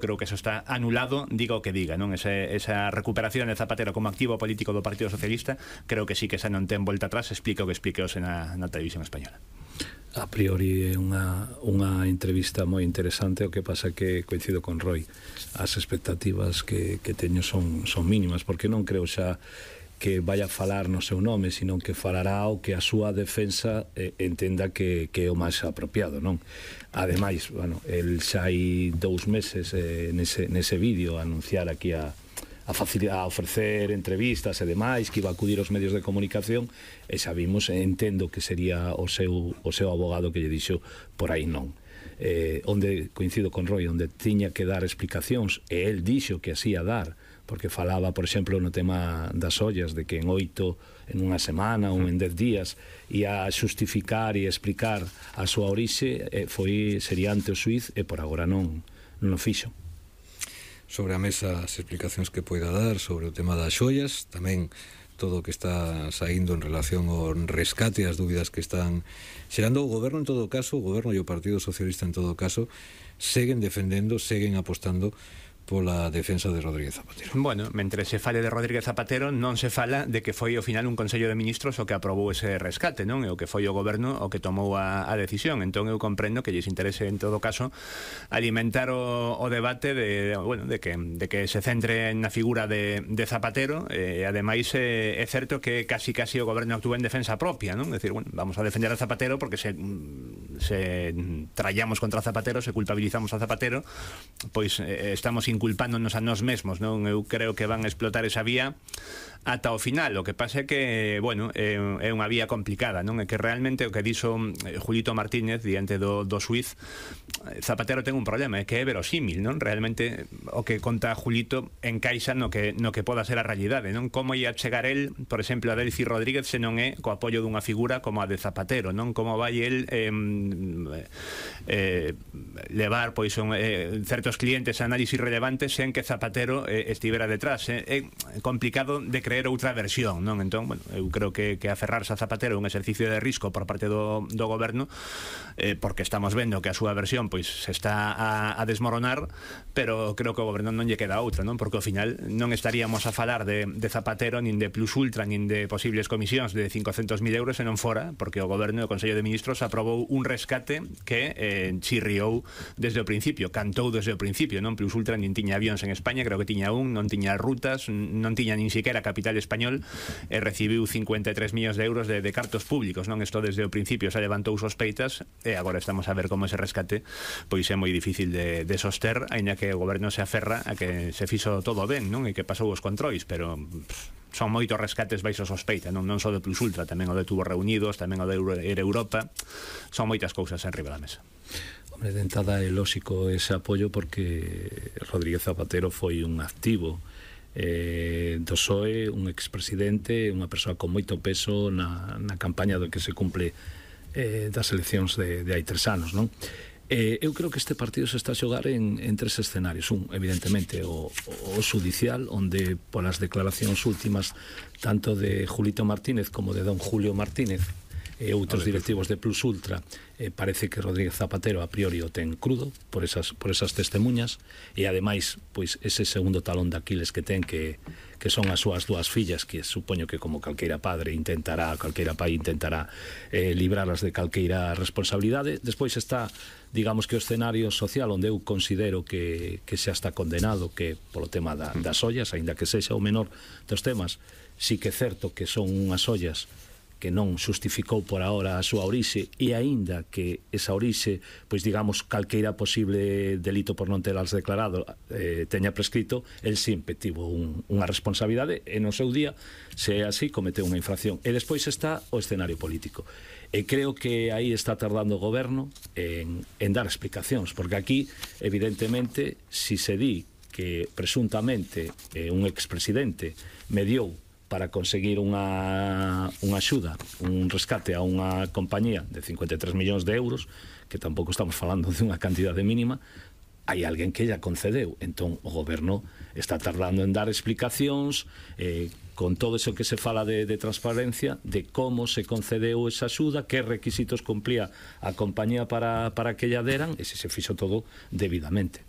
creo que eso está anulado, diga o que diga, non? Esa recuperación de Zapatero como activo político do Partido Socialista, creo que sí que esa non ten volta atrás, explica o que expliqueos na televisión española. A priori é unha entrevista moi interesante, o que pasa que coincido con Roy, as expectativas que teño son mínimas, porque non creo xa que vaya a falar no seu nome, sino que falará o que a súa defensa entenda que é o máis apropiado, non? Ademais, bueno, el xa hai 2 meses nese vídeo a anunciar aquí a ofrecer entrevistas e demais, que iba a acudir aos medios de comunicación, e xa vimos, entendo que sería o seu abogado que lle dixo por aí non. Onde coincido con Roy, onde tiña que dar explicacións, e el dixo que así a dar, porque falaba, por exemplo, no tema das ollas, de que en 8, en unha semana ou en 10 días ia xustificar e explicar a súa orixe, sería ante o xuiz, e por agora non o fixo. Sobre a mesa as explicacións que poida dar sobre o tema das xoias, tamén todo o que está saindo en relación ao rescate, as dúbidas que están xerando o goberno en todo caso, o goberno e o Partido Socialista en todo caso, seguen defendendo, seguen apostando pola defensa de Rodríguez Zapatero. Bueno, mentre se fale de Rodríguez Zapatero, non se fala de que foi ao final un Consello de Ministros o que aprobou ese rescate, non? E o que foi o goberno o que tomou a decisión. Entón eu comprendo que lles interese en todo caso alimentar o debate de que se centre na figura de Zapatero, e ademais é certo que casi o goberno actúa en defensa propia, non? É dicir, bueno, vamos a defender a Zapatero porque se trallamos contra Zapatero, se culpabilizamos a Zapatero, pois estamos inculpándonos a nós mesmos, non? Eu creo que van a explotar esa vía ata o final. O que pasa é que, bueno, é unha vía complicada, non? É que realmente o que dixo Julito Martínez diante do xuiz, Zapatero ten un problema, é que é verosímil, non? Realmente o que conta Julito encaixa no que poda ser a realidade, non? Como ia chegar el, por exemplo, a Delcy Rodríguez, se non é co apoio dunha figura como a de Zapatero, non? Como vai el levar pois certos clientes a análisis relevantes sen que Zapatero estivera detrás. É complicado de creer outra versión, non? Entón, bueno, eu creo que aferrarse a Zapatero é un exercicio de risco por parte do goberno, porque estamos vendo que a súa versión pois se está a desmoronar, pero creo que o goberno non lle queda outra, non? Porque ao final non estaríamos a falar de Zapatero, nin de Plus Ultra, nin de posibles comisións de 500.000 euros se non fora porque o goberno e o Consello de Ministros aprobou un rescate que chirriou desde o principio, cantou desde o principio, non? Plus Ultra nin tiña avións en España, creo que tiña non tiña rutas, non tiña nin siquiera capital español, e recibiu 53 millóns de euros de cartos públicos, non? Isto desde o principio se levantou sospeitas, e agora estamos a ver como ese rescate pois é moi difícil de soster, aínda que o goberno se aferra a que se fixo todo ben, non? E que pasou os controis, pero son moitos rescates baixo sospeita, non só de Plus Ultra, tamén o de Tubos Reunidos, tamén o de Air Europa, son moitas cousas en riba da mesa. De entrada é lóxico ese apoio porque Rodríguez Zapatero foi un activo do PSOE, un expresidente, unha persoa con moito peso na campaña do que se cumple das eleccións de hai 3 anos, non? Eu creo que este partido se está a xogar en 3 escenarios. Un, evidentemente, o judicial, onde polas declaracións últimas tanto de Julito Martínez como de don Julio Martínez e outros directivos de Plus Ultra, parece que Rodríguez Zapatero a priori o ten crudo por esas testemunhas, e ademais pois ese segundo talón de Aquiles que ten, que son as súas 2 fillas, que supoño que como calqueira padre calqueira pai intentará libralas de calqueira responsabilidade. Despois está, digamos, que o escenario social, onde eu considero que xa está condenado, que polo tema das ollas, aínda que sexa o menor dos temas, sí que é certo que son unhas ollas que non xustificou por ahora a súa orixe, e aínda que esa orixe, pois digamos, calqueira posible delito por non telas declarado teña prescrito, el sempre tivo unha responsabilidade, e no seu día, se é así, cometeu unha infracción. E despois está o escenario político, e creo que aí está tardando o goberno en dar explicacións, porque aquí, evidentemente, si se di que presuntamente un expresidente mediou para conseguir unha axuda, un rescate a unha compañía de 53 millóns de euros, que tampouco estamos falando de unha cantidade mínima, hai alguén que lla concedeu. Entón o goberno está tardando en dar explicacións, con todo eso que se fala de transparencia, de como se concedeu esa axuda, que requisitos cumplía a compañía para que lla deran, e se fixo todo debidamente.